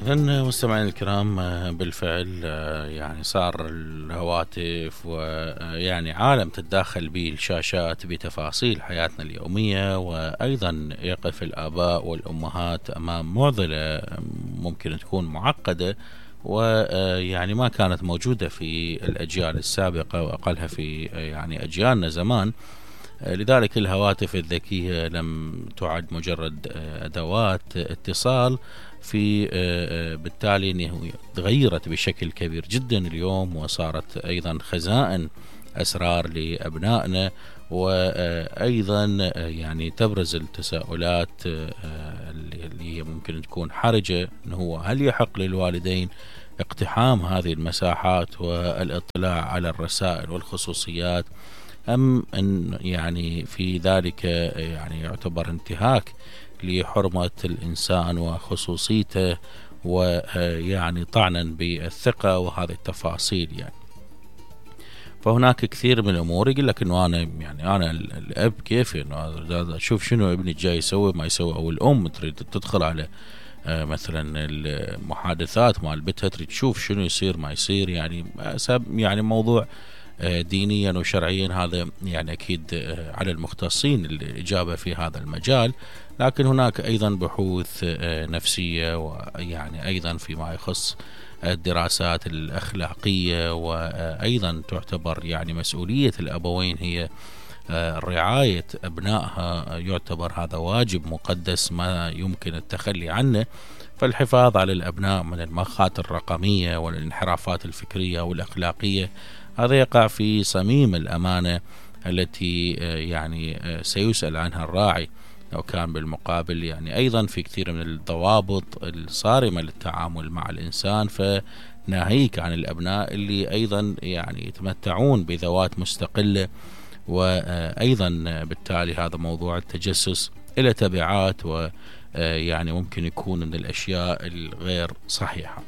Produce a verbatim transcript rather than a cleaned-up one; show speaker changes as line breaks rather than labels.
إذن مستمعين الكرام، بالفعل يعني صار الهواتف ويعني عالم تتداخل به الشاشات بتفاصيل حياتنا اليومية، وأيضا يقف الآباء والأمهات أمام معضلة ممكن تكون معقدة ويعني ما كانت موجودة في الأجيال السابقة وأقلها في يعني أجيالنا زمان. لذلك الهواتف الذكية لم تعد مجرد أدوات اتصال، في بالتالي أنه تغيرت بشكل كبير جدا اليوم، وصارت أيضا خزائن أسرار لأبنائنا، وأيضا يعني تبرز التساؤلات اللي هي ممكن تكون حرجة، أنه هو هل يحق للوالدين اقتحام هذه المساحات والاطلاع على الرسائل والخصوصيات، أم أن يعني في ذلك يعني يعتبر انتهاك لحرمة الإنسان وخصوصيته، ويعني طعنا بالثقة وهذه التفاصيل. يعني فهناك كثير من الأمور يقول لك إنه أنا يعني أنا الأب كيف إنه أشوف شنو ابني جاي يسوي ما يسوي، أو الأم تريد تدخل على مثلا المحادثات مال بيتها، تريد تشوف شنو يصير ما يصير. يعني يعني موضوع دينيا وشرعيا هذا يعني أكيد على المختصين الإجابة في هذا المجال، لكن هناك أيضا بحوث نفسية، ويعني أيضا فيما يخص الدراسات الأخلاقية، وأيضا تعتبر يعني مسؤولية الأبوين هي رعاية أبنائها، يعتبر هذا واجب مقدس ما يمكن التخلي عنه. فالحفاظ على الأبناء من المخاطر الرقمية والانحرافات الفكرية والأخلاقية هذا يقع في صميم الأمانة التي يعني سيسأل عنها الراعي، لو كان بالمقابل يعني أيضا في كثير من الضوابط الصارمة للتعامل مع الإنسان، فناهيك عن الأبناء اللي أيضا يعني يتمتعون بذوات مستقلة، وأيضا بالتالي هذا موضوع التجسس إلى تبعات ويعني ممكن يكون من الأشياء الغير صحيحة.